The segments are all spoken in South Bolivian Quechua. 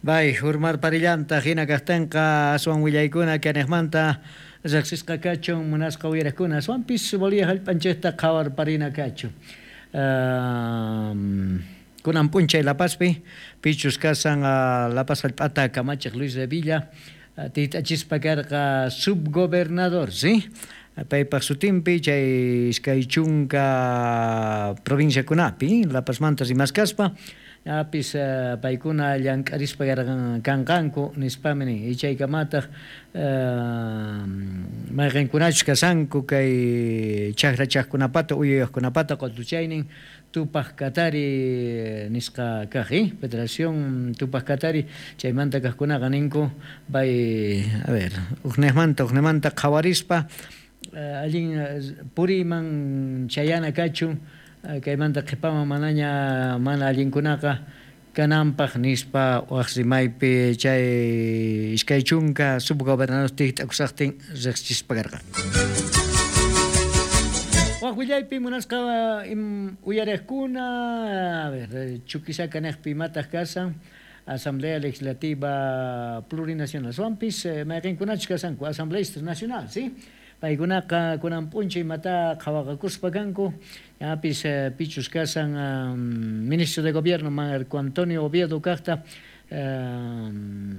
Bay, urmarparillantaq hina kaqtinqa aswan willaykuna kaniqmanta riqsisqa kachun munasqa uyariqkuna aswanpis Bolivia hallp'anchikta qhawarparina kachun. Kunan p'unchay La Pazpi pichus kasan La Paz hallp'ata kamachiq Luis Revilla tiyt'achispa karqa subgobernador, sí? Paypaq sutinpi chay 20 provinciakunapi La Pazmanta rimaskaspa apis paykuna llank'arispa kanqanku nispami nin y chaykamataq mayqinkunachus kasanku kay chakrachaqkunapata uyuyaqkunapata qutuchaynin Tupaq Katari nisqa kaq, Federación Tupaq Katari chaymanta kaqkunaqa ninku bay a ver ukniqmanta uknimanta qhawarispa allin puriyman chayana kachun kaymanta qhipaman manaña mana allinkunaqa kananpaq nispa waq rimaypi chay 20 subgobernador tikt'akusaqtin riqsichispa karqa. Waq willaypi munasqa uyariqkuna, a ver, Chuquisaca niqpi imataq kasan Asamblea Legislativa Plurinacional aswanpis mayqinkunachus kasanku asambleístas nacional, sí? Paykunaqa kunan p'unchay imata qhawaqakuspa kanku, ñapis pichus kasan ministro de gobierno Marco Antonio Oviedo kaqta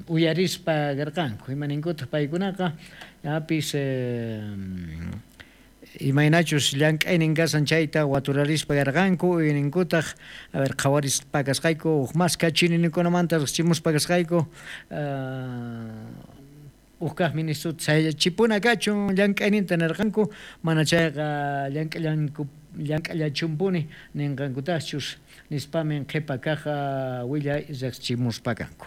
uyarispa karqanku, imaninkutaq paykunaqa ñapis imaynachus llank'aynin kasan chayta waturarispa karqanku, uyninkutaq a ver qhawarispa kasqayku huk más kachinikunamanta riqsichimuspa kasqayku huk kaq ministrota sayachipuna kachun llank'ayninta nirqanku, mana chayqa llank'allachumpuni ninqankutaqchus nispamin qhipa kaq willay riqsichimuspa kanku.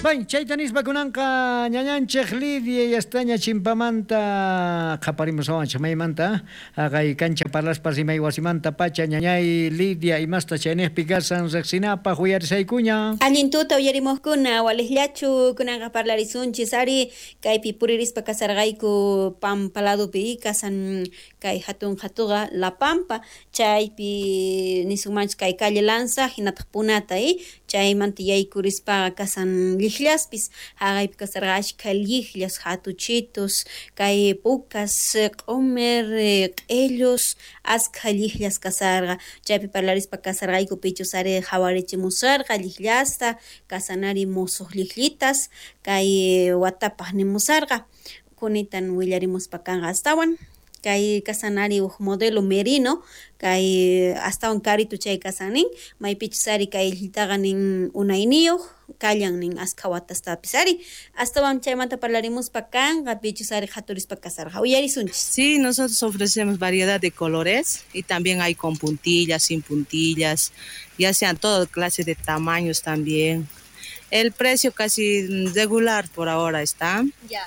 Bay, chayta nispa kunanqa ñañanchik Lidia yastaña chimpamanta qhaparimusawanchik maymanta haqay kancha parlaspa rimay wasimanta pacha ñañay Lidia imasta chayniqpi kasan riqsinapaq uyarisaykuña. Allin tuta uyarimuqkuna waliqllachu kunanqa parlarisunchis ari kaypi puririspa kasarqayku Pampa ladopi kasan kay hatun hatuqa La Pampa chaypi nisunmanchis kay calle Lanza hinataq Punata chaymanta yaykurispaqa kasan llijllaspis haqaypi kasarqa ashkha llijllas hatuchitos kay pukas q'umer q'illus askha llijllas kasarqa chaypi parlarispa kasarqayku pichus ari qhawarichimusarqa llijllasta kasanari musuq llijllitas kay watapaq nimusarqa kunitan willarimuspa kanqa astawan kay kasanari huk modelo merino kay astawan karito chay kasanin maypichus ari kay llillitaqa nin unayniyuq kallan nin askha watastapis ari astawan chaymanta parlarimuspa kanqa pichus ari qhaturispa kasarqa uyarisunchis. Sí, nosotros ofrecemos variedad de colores y también hay con puntillas, sin puntillas, ya sean toda clase de tamaños también. El precio casi regular por ahora está. Ya.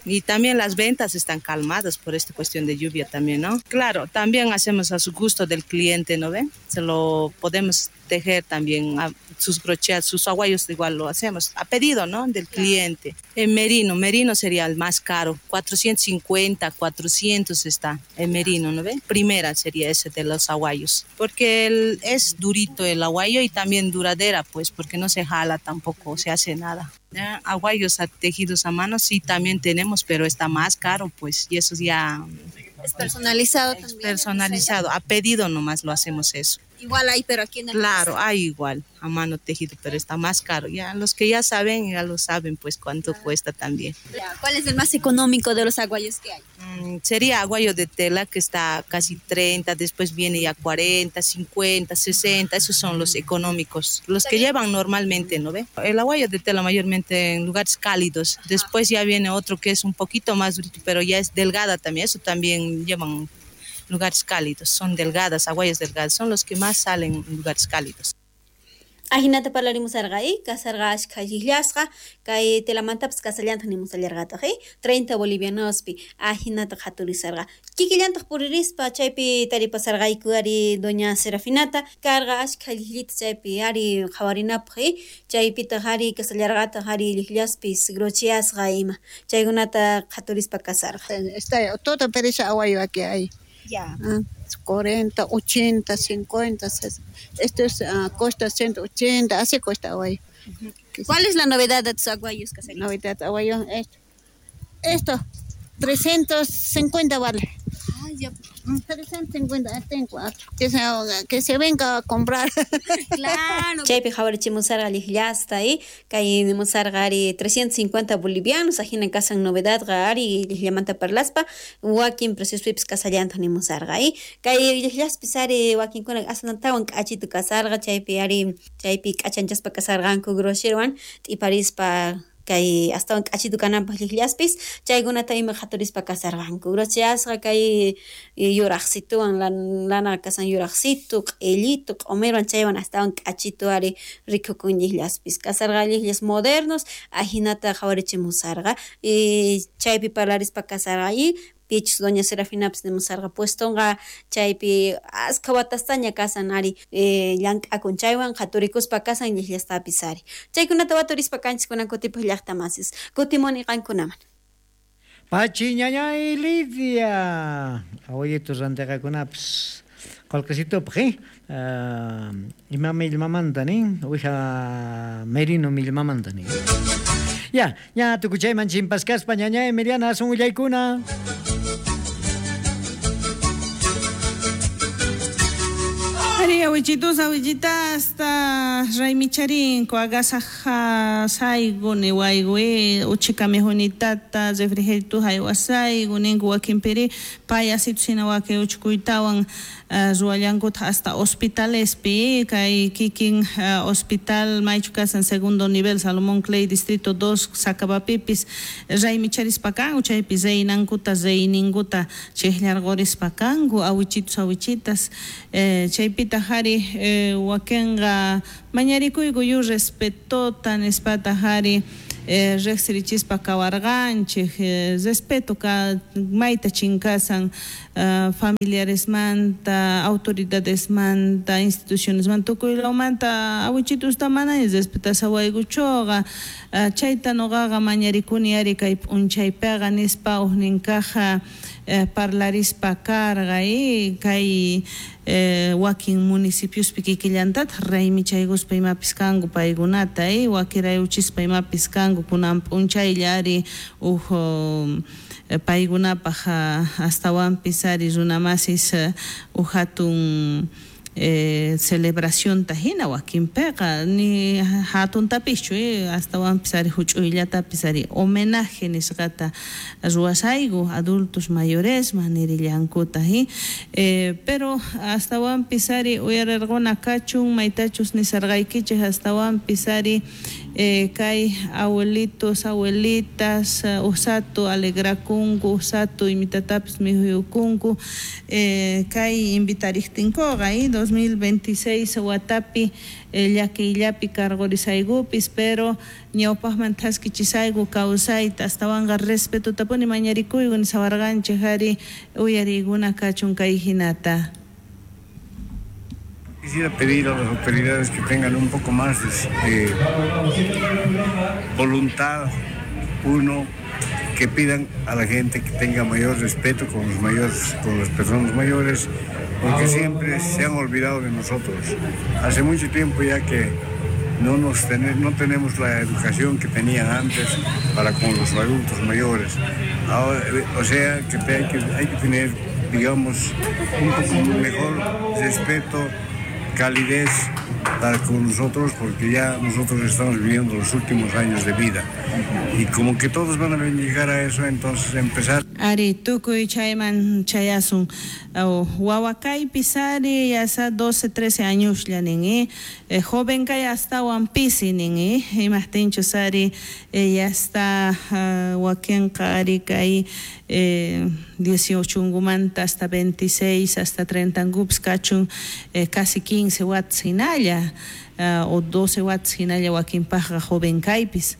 Y también las ventas están calmadas por esta cuestión de lluvia también, ¿no? Claro, también hacemos a su gusto del cliente, ¿no ven? Se lo podemos tejer también a sus brochets, sus aguayos igual lo hacemos a pedido, ¿no? Del cliente. El merino sería el más caro, 450, 400 está el merino, ¿no ven? Primera sería ese de los aguayos, porque es durito el aguayo y también duradera, pues, porque no se jala tampoco, se hace nada. Ya, aguayos tejidos a mano sí también tenemos, pero está más caro, pues, y eso ya Es personalizado es también, personalizado, a pedido nomás lo hacemos eso. Igual hay, pero aquí en el Claro, país. hay igual, a mano tejido, pero está más caro. Ya los que ya saben, ya lo saben, pues, cuánto cuesta también. Ya, ¿cuál es el más económico de los aguayos que hay? Sería aguayo de tela, que está casi 30, después viene ya 40, 50, 60, esos son los económicos, los que llevan normalmente, ¿no ve? El aguayo de tela mayormente en lugares cálidos, después ya viene otro que es un poquito más durito, pero ya es delgada también, eso también llevan lugares cálidos, son delgadas, aguayas delgadas, son los que más salen en lugares cálidos. Ajinata parlarimusarqa, kasarqa ashkha llijllasqa, kay telamantapas kasallantaq nimusallarqataq, 30 bolivianospi, ajinata qhaturisarqa. Kikillantaq puririspa chaypi taripasarqayku ari doña Serafinata, karqa ashkha llijllita chaypi ari qhawarinapaq, chaypitaq ari kasallarqataq ari llijllaspis grocheasqa ima, chaykunata qhaturispa kasarqa. Está todo pereza aguayo aquí hay. Ya. 40, 80, 50, esto es, cuesta 180, así cuesta aguayo. ¿Cuál es la novedad de tus aguayos, Caserita? Novedad de aguayo, esto, 350 vale. Ah, ya. 350, tengo 4. Que se venga a comprar. Claro. Chaypi qhawarichimusarqa lliqllasta, kay nimusarqa ari 350 bolivianos, ajina kasan novedadqa ari lliqllamanta parlaspa, wakin preciospipis kasallantaq nimusarqa, kay lliqllaspis ari wakinkuna asantawan k'achitu kasarqa, chaypi ari chaypi k'achanchaspa kasarqanku grosherwan t'iparispa kay astawan k'achitu kananpaq lliqllaspis, chaykunata ima qhaturispa kasarqanku. Grocheasqa kay yuraqsituwan lana kasan yuraqsitu, q'illitu, q'umirwan chaywan astawan k'achitu ari rikukun lliqllaspis. Kasarqa lliqllas modernos, ajinata qhawarichimusarqa, y chaypi parlarispa kasarqa y pichus doña Serafinapis nimusarqa puestonqa chaypi askha watastaña kasan ari llank'akun chaywan qhaturikuspa kasan lliqllastapis ari. Chaykunata waturispa kanchis kunan kutipaq llaqta masis. Kutimuni qankunaman. Pachi ñañay Lidia, abuelitos rantiqakunapis qolqesitupaq, ima millmamanta nin, uwija merino millmamanta nin. Ya, ña tukuchayman chimpaskaspa ñañay Emiliana asun willaykuna. Ari awichitus awichitasta raymicharinko agasaja saygu niwaygu uchikami junitata refrigerito haywasaygu ninku wakinpiri payasitu sina waki uchkuytawan ruwallankuta hasta hospitalespi kay kikin hospital maychu kasan segundo nivel Salomón Clay distrito 2 Sacabapipis raymicharispa kanku chaypi reynankuta reyninkuta chiqllarqurispa kanku awichitus awichitas chaypita jari wakinqa mañarikuyku yu respetota nispata jari riqsirichispa kawarqanchik respeto ka mayta chinkasan familiaresmanta autoridadesmanta institucionesmanta tukuylawmanta awichitusta mana respetasawaykuchuqa chayta nuqaqa mañarikuni ari kay p'unchaypiqa nispa uqninkaqa parlarispa karqa kay wakin municipiospi kikillantataq raymichaykuspa imapis kanku paykunata wakirayuchispa imapis kanku kunan p'unchaylla ari uj paykunapaq astawanpis ari runamasis uj hatun celebracionta hina wakinpiqa ni hatuntapischu astawanpis ari huch'uyllatapis ari homenaje nisqata ruwasayku adultos mayoresman nirillankuta pero astawanpis ari uyarirquna kachun maytachus nisarqaykichik astawanpis ari kay abuelitos abuelitas usatu alegrakunku usatu imitatapis mikhuyukunku kay invitariqtinkuqa 2026 watapi llakiyllapi karqurisaykupis pero ñawpaqman thaskichisayku kawsayta astawanqa respetotapuni mañarikuyku nisawarqanchik ari uyariykuna kachun kay hinata. Quisiera pedir a las autoridades que tengan un poco más de voluntad, uno, que pidan a la gente que tenga mayor respeto con los mayores, con las personas mayores, porque siempre se han olvidado de nosotros. Hace mucho tiempo ya que no tenemos la educación que tenían antes para con los adultos mayores. Ahora, o sea que hay que tener, digamos, un poco mejor respeto, calidez para con nosotros, porque ya nosotros estamos viviendo los últimos años de vida y como que todos van a llegar a eso, entonces empezar. Ari tukuy chayman chayasun wawakaypis ari yasa 12, 13 años nin joven kay astawan pisi nin imajtinchus ari ya está wakinqa ari kay 18 ngumanta hasta 26 hasta 30 ngupis kachun casi 15 watts hinalla o 12 watts hinalla wakinpaqqa joven kaypis.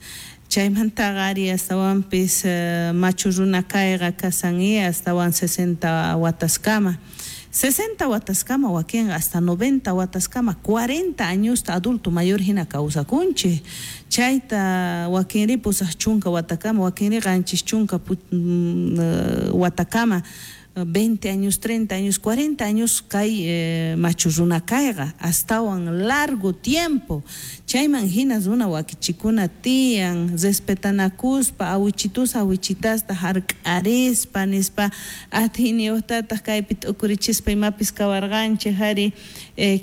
Chaymantaqa ari astawanpis machu runa kayqa kasan astawan 60 wataskama. 60 wataskama wakinqa hasta 90 wataskama 40 añosta adulto mayor hina kawsakunchik. Chayta wakinri pusaq chunka watakama wakinri qanchis chunka watakama 20 años, 30 años, 40 años kay machu runa kayqa astawan largo tiempo. Chayman hina runa wakichikuna tiyan respetanakuspa awichitus awichitasta hark'arispa nispa atiyniyuqtataq kaypi t'ukurichispa imapis kawarqanchik ari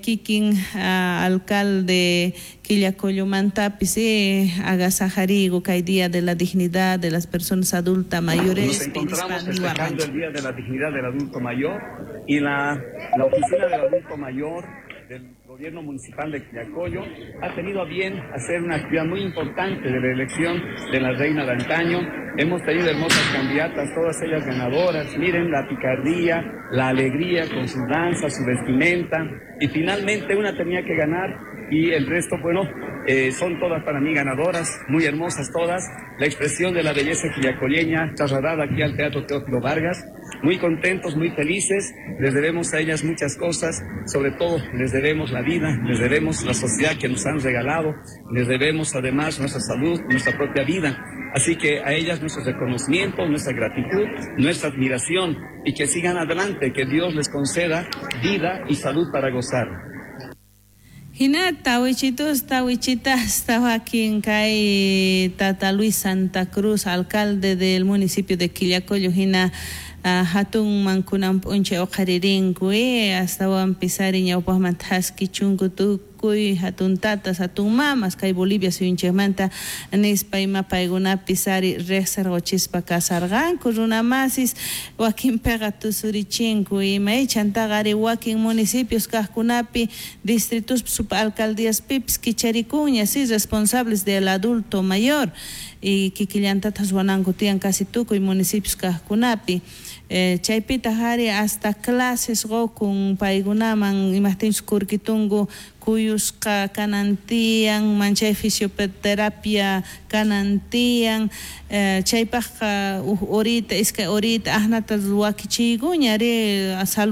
kikin alcalde Quillacollomantapis agasajarigo kay Día de la Dignidad de las Personas Adultas Mayores. Nos encontramos festejando el Día de la Dignidad del Adulto Mayor y la Oficina del Adulto Mayor del Gobierno Municipal de Quillacollo ha tenido a bien hacer una actividad muy importante de la elección de la reina de antaño. Hemos tenido hermosas candidatas, todas ellas ganadoras. Miren la picardía, la alegría con su danza, su vestimenta. Y finalmente una tenía que ganar y el resto, bueno, son todas para mí ganadoras, muy hermosas todas. La expresión de la belleza quillacolleña trasladada aquí al Teatro Teófilo Vargas. Muy contentos, muy felices, les debemos a ellas muchas cosas, sobre todo les debemos la vida, les debemos la sociedad que nos han regalado, les debemos además nuestra salud, nuestra propia vida. Así que a ellas nuestro reconocimiento, nuestra gratitud, nuestra admiración y que sigan adelante, que Dios les conceda vida y salud para gozar. Hinata wichitus tawichitas tawakin kay Tata Luis Santa Cruz, alcalde del municipio de Quillacollo, hina hatun mankunan p'unchay uqharirinku astawan pisari ñawpaqman thaskichunku tukuy hatun tatas hatun mamas kay Bolivia suyunchikmanta nispa ima paykunapis ari riqsirquchispa kasarqanku runamasis wakinpiqa tusurichinku ima chantaqa ari wakin municipios kaqkunapi distritos subalcaldíaspipis kicharikunña si responsables del adulto mayor y kikillantatas ruwananku tiyan casi tukuy municipios kaqkunapi chaypitaq ari hasta clases qukun paykunaman imaqtinchus kurkitunku kuyusqa kanan tiyan manchay fisioterapia kanan tiyan chaypaqqa huk horita iskay horita asnata wakichiykuña ari salud.